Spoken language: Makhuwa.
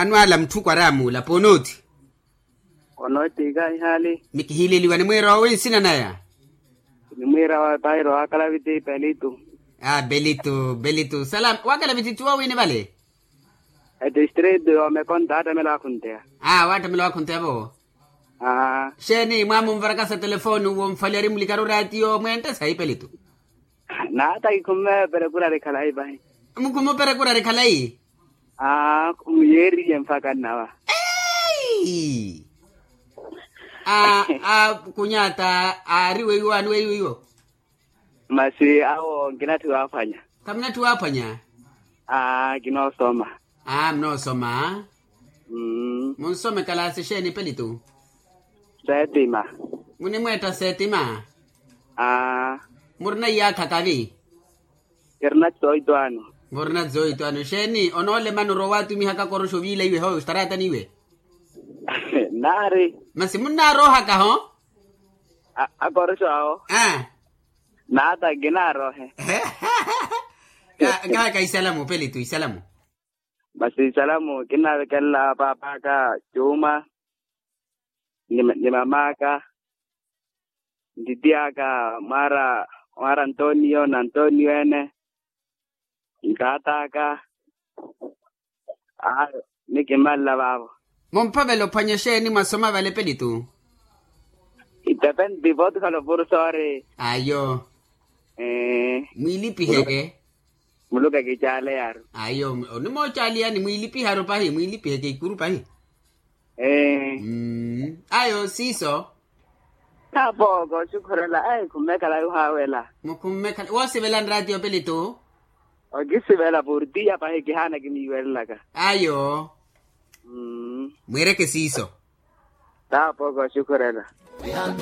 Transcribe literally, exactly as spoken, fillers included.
Anwaala mutthu kwaramuula ponooti. Onoottiika ihaali. Mikihiileliwa nimwiira owe nsina naya? Nimwiira wa pairo wa kalaviti pelitu. A pelitu pelitu salama wa kalaviti ttiwo wiini vale? Etistritu yoomekonta aattamela wakhunteya. A waattamela wakhunteya vo. Aa. Xeeni mwaamunvarakasa telefoni wonfali ari mulikaru raatiyo mwentte sayi pelitu. Naata kikhumme perekurari khalayi pahi. Mukhumme operekurari khalayi. Aa khumiyeeriye mpakha nnawa. Eeii. A a kunyaata aari weiwo aani weiwo iwo. Masi awo nkinatthi waaphwanya. Khamunatthi waaphwanya. Aa kinoosoma. Aa munoosoma. Munsome kalaasi exeeni pelitu? Setima. Munimweetta setima. Aa. Murina iyaakha kavi? Kirina tsoito ano. Murina tsoito ano exeeni onoolemana orowa waatumihaka koroxo oviila iwe howe ostaraatani iwe? Naari. Masi munnaaroohaka ho? Akoroxo awo. Naata nkinaarohe. Kaaka isalamu pelitu isalamu. Masi isalamu kinnavekelela paap'aka cuuma ni mam'aka ntitiy'aka mwaara mwaara antonio na antonio ene. Ntaat'aka. Ayo ni kimmanla vaavo. Mumphavela ophwanya exeeni mwasoma vale pelitu? Itepenti vootthukhala opursoori. Ayo. Mwiilipiheke. Muluka kicaaleyaru. Ayo onimoocaaliyani mwiilipiharu pahi mwiilipiheke ikuru pahi. Ayo siiso. Taapooko oxukhurela ayi khummekhala yuhaawela. Mukhummekhala woosivela nraatiyo pelitu? Okisivela portiya pahi kihaana kimiiwelelaka. Ayo. Mwiireke siiso. Taapooko oxukhurela. Vihantu.